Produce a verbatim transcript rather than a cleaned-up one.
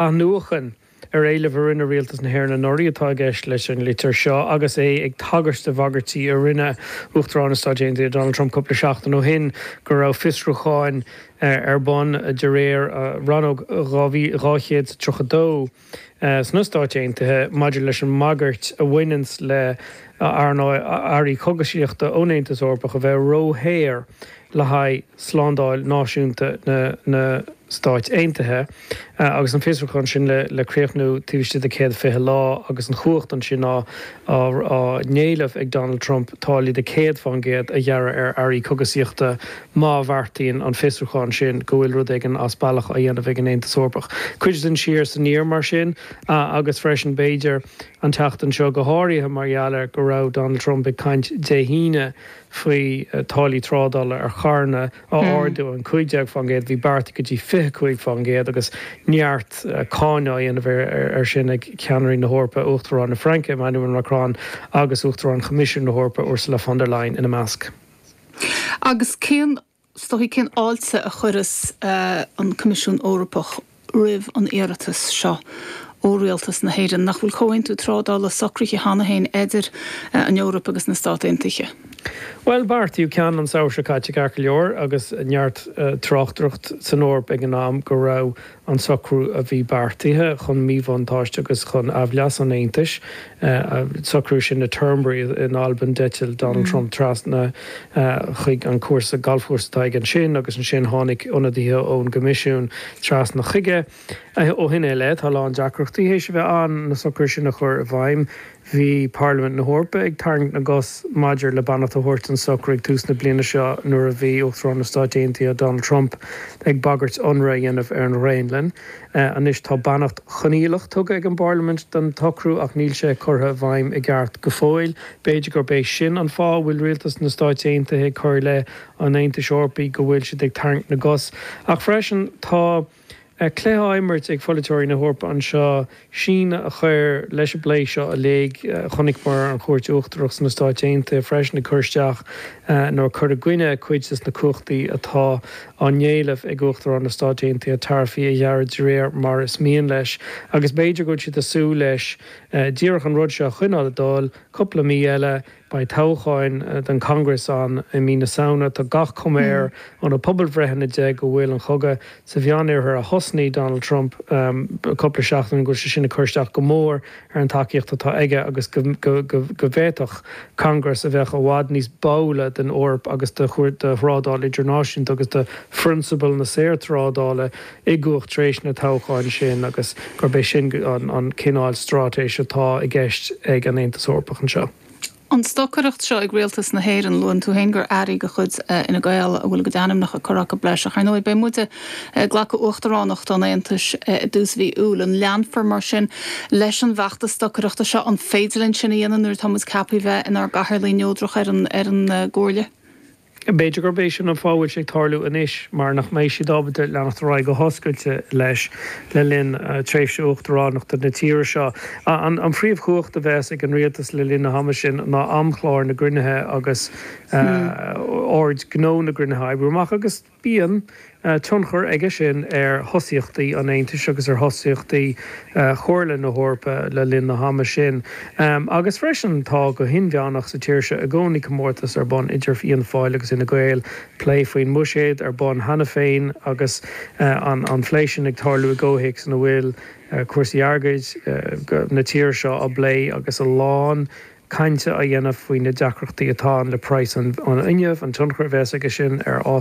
Athnuachan ar éileamh a rinne Rialtas na hÉireann anuraidh atá i gceist leis an litir seo agus é ag tagairt do bhagairtí a rinne Uachtarán na Stáit Aontaithe Donald Trump cúpla seachtain ó shin go raibh fiosrúcháin ar bun de réir Rannóg dhá chéad is tríocha dó sna Stáit Aontaithe maidir leis an mbagairt a bhaineanns le earraí cogaisíochta ón Aontas Eorpach a bheith ródhaor le haghaidh slándáil náisiúnta na Stáit Aontaithe agus an fiosrúchán sin le críochnú taobh istigh de céad fiche lá agus an chumhacht ansin á n-éileamh ag Donald Trump táillí de céad fán gcéad a ghearradh ar earraí cogaisíochta má bheartaíonn an fiosrúchán sin go bhfuil rud éigin as bealach á dhéanamh ag an Aontas Eorpach. Cuid den siar is aniar mar sin agus freisin b'fhéidir an tseachtain seo go háirithe mar gheall ar go raibh Donald Trump ag caint Dé hAoine faoi táillí trádála ar charranna a ardú ón cúig déag fán gcéad, bhí beartaithe go dtí fiche cúig fán gcéad agus neart cáineadh á dhéanamh air sin ag ceannairí na hEorpa, Uachtarán na Fraince, Emmanuel Macron agus Uachtarán Choimisiún na hEorpa, Ursula von der Leyen ina measc. Agus cén, is dóichí, cén fháilte a chuireas an Coimisiún Eorpach roimh an iarratas seo ó Rialtas na hÉireann? Nach bhfuil comhaontú trádála socraithe cheana féin idir an Eoraip agus na Stáit Aontaithe? Bhuel, beartaíodh ceann an samhradh seo caite ceart go leor agus neart tráchtaireacht san Eoraip ag an am go raibh an socrú a bhí beartaithe chun míbhuntáiste agus chun aimhleas an Aontais, socrú sin i Turnberry in Albain, d'eitil Donald Trump trasna chuig an cúrsa galfchúrsa atá aige ansin agus ansin tháinig ionadaithe ón gCoimisiún trasna chuige. Ó shin i leith, tá a lán deacrachtaí théis a bheith ann na socruithe sin a chur i bhfeidhm. Bhí Parlaimint na hEorpa ag tarraingt na gcos maidir le beannacht a thabhairt don socrú ag tús na bliana seo nuair a bhí Uachtarán na Stáit Aontaithe Donald Trump ag bagairt ionradh a dhéanamh ar an Ghraonlainn. Anois tá beannacht choinníollach tugtha ag an bParlaimint don tsocrú ach níl sé curtha i bhfeidhm i gceart go fóill. B'fhéidir gurb é sin an fáth a bhfuil rialtas na Stáit Aontaithe ag cur i leith an Aontais Eorpaigh go bhfuil siad ag tarraingt na gcos. Ach freisin tá cluiche á imirt ag pholaiteoirí na hEorpa anseo, síneadh a chur leis an bplé seo uilig. Chonaiceamar an Chúirt Uachtarach sna Stáit Aontaithe freisin ag cur isteach nó ag cur i gcoinne cuid des na cumhachtaí atá á n-éileamh ag Uachtarán na Stáit Aontaithe taraifí a ghearradh de réir mar is mian leis. Agus b'fhéidir go bhfuil siad ag súil leis díreach an rud seo a choinneáil ag dul cúpla mí eile. Beidh toghcháin don Congress ann i mí na Samhna. Tá gach cuma air ó na pobalbhreitheanna de go bhfuil an chogadh sa Mheánoirthear a thosnaigh Donald Trump cúpla seachtain, go bhfuil sé sin ag cur isteach go mór ar an tacaíocht atá aige agus go bhféadfadh Congress a bheadh i bhfad níos báúla don Eoraip agus do thrádáil idirnáisiúnta agus do phrionsabail na saorthrádála i gcumhacht tar éis na toghcháin sin agus gurb é sin an cineál straitéis atá i gceist ag an Aontas Eorpach anseo. An stocaireacht seo ag Rialtas na hÉireann, luann tú féin gur airí de chuid Fhine Gael a bhfuil a gcuid ainmneacha curtha acu leis, ach ar ndóigh beidh muide ag glacadh Uachtaránacht an Aontais i dtús mhí Iúil. An leanfar mar sin leis an bhfeachtas stocaireachta seo? An féidir linn sin a dhéanamh nuair atá muid ceaptha bheith inár gcathaoirligh neodrach ar an ar an gComhairle? B'fhéidir gurb é sin an fáth a bhfuil sé ag tarlú anois, mar nach mbeidh siad ábalta leanacht ar aghaidh go hoscailte leis le linn tréimhse uachtaránachta na tíre seo. An phríomhchumhacht a bheas ag an rialtas le linn na hama sin ná amchlár na gcruinnithe agus ord gnó na gcruinnithe a oibriú amach agus bíonn tionchar aige sin ar thosaíochtaí an Aontais agus ar thosaíochtaí Chomhairle na hEorpa le linn na hama sin. Agus freisin tá go hinmheánach sa tír seo i gcónaí comórtas ar bun idir Fianna Fáil agus Fhine Gael, plé faoin mbuiséad ar bun cheana féin agus an plé sin ag tarlú i gcomhthéacs ina bhfuil cúrsaí airgid na tíre seo á bplé agus a lán cainte á dhéanamh faoi na deacrachtaí atá ann le praghas an fhuinnimh, an tionchar a bheas aige sin ar fhás